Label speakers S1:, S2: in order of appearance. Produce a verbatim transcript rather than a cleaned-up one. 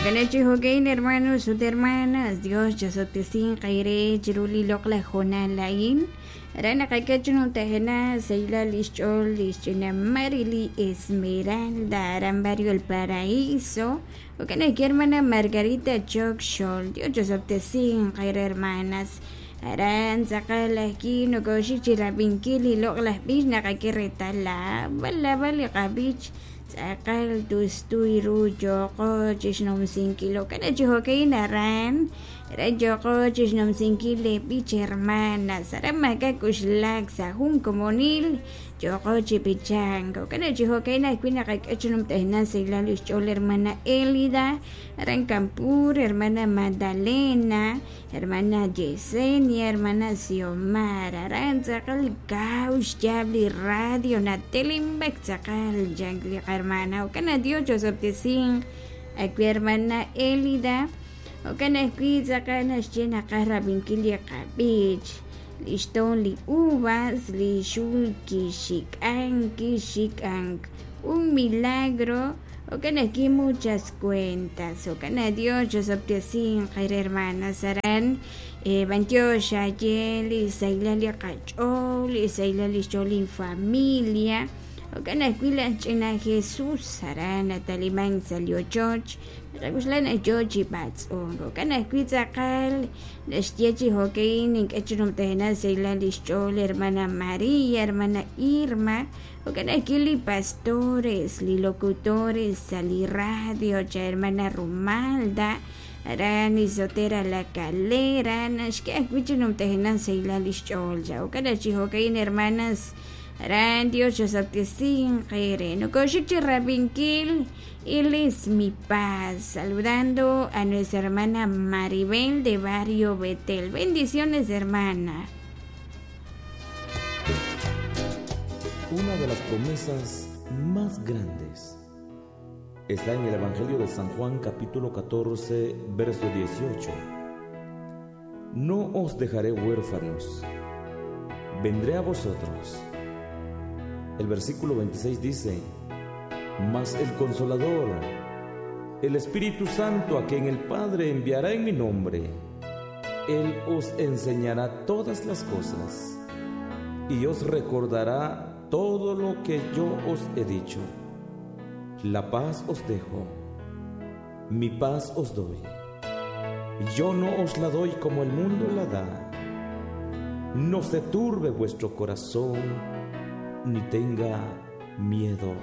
S1: Okenechi hokein hermanos ut hermanas, Dios chasotesin qaire chiruli loqla jonalain. Rana qakachun tajena seila lischol lischina Marily Esmeralda aran barrio El Paraíso. Okeneki hermana Margarita Chokxol, Dios chasotesin qaire hermanas. Aran tzaqal ajki nokoxik chirabinkil loqlaj b'ix naqak'i retala b'al li qab'ich tz'aqal tustuy ru yoqo chixnumsinkil okana chi jo'kan aran aran yoqo chixnumsinkil le b'ich hermanas aran maka k'uxlak sa' jun komonil yoqo chi pichank okana chi jo'kan ajwi' naqak'e chinumtejna seilal ixch'ool hermana Elida aran Campur, hermana Magdalena, hermana Yesenia, hermana Xiomara, aran tz'aqal kaw xyaab' li radio natelimb'ek tz'aqal yank li hermana okana Dios chosoptesin ajwi' hermana Elida okana ajwi' tz'aqal naxye naqaj rab'inkil li qab'ich lixton li uvas li xul kixik'an kixik'an un milagro okana aquí muchas cuentas okana Dios chosoptesin qayre hermanas aran eh, bantiox ayel isailal li qach'ool isailal lixch'ool familia okana ajwi' laj ch'ina Jesús aran nataliman sa' li ochoch naqak'uxlan ayo chi b'atz'unk okana ajwi' tz'aqal naxye chi jo'kan ink'e chinumtejna sailal lixch'ool hermana María, hermana Irma okana ajwi' li pastores, li locutores sa' li radio cha hermana Rumalda aran Isotera La Calera naxk'e ajwi' chinumtejna sailal lixch'ool cha okana chi jo'kan hermanas aran Dios chosoptesin qere nokoxik chi rabinkil. Él es mi paz. Saludando a nuestra hermana Maribel de Barrio Betel. Bendiciones, hermana.
S2: Una de las promesas más grandes está en el Evangelio de San Juan, capítulo catorce, verso dieciocho. No os dejaré huérfanos, vendré a vosotros. El versículo veintiséis dice: Mas el Consolador, el Espíritu Santo, a quien el Padre enviará en mi nombre, Él os enseñará todas las cosas y os recordará todo lo que yo os he dicho. La paz os dejo, mi paz os doy. Yo no os la doy como el mundo la da. No se turbe vuestro corazón, ni tenga miedo.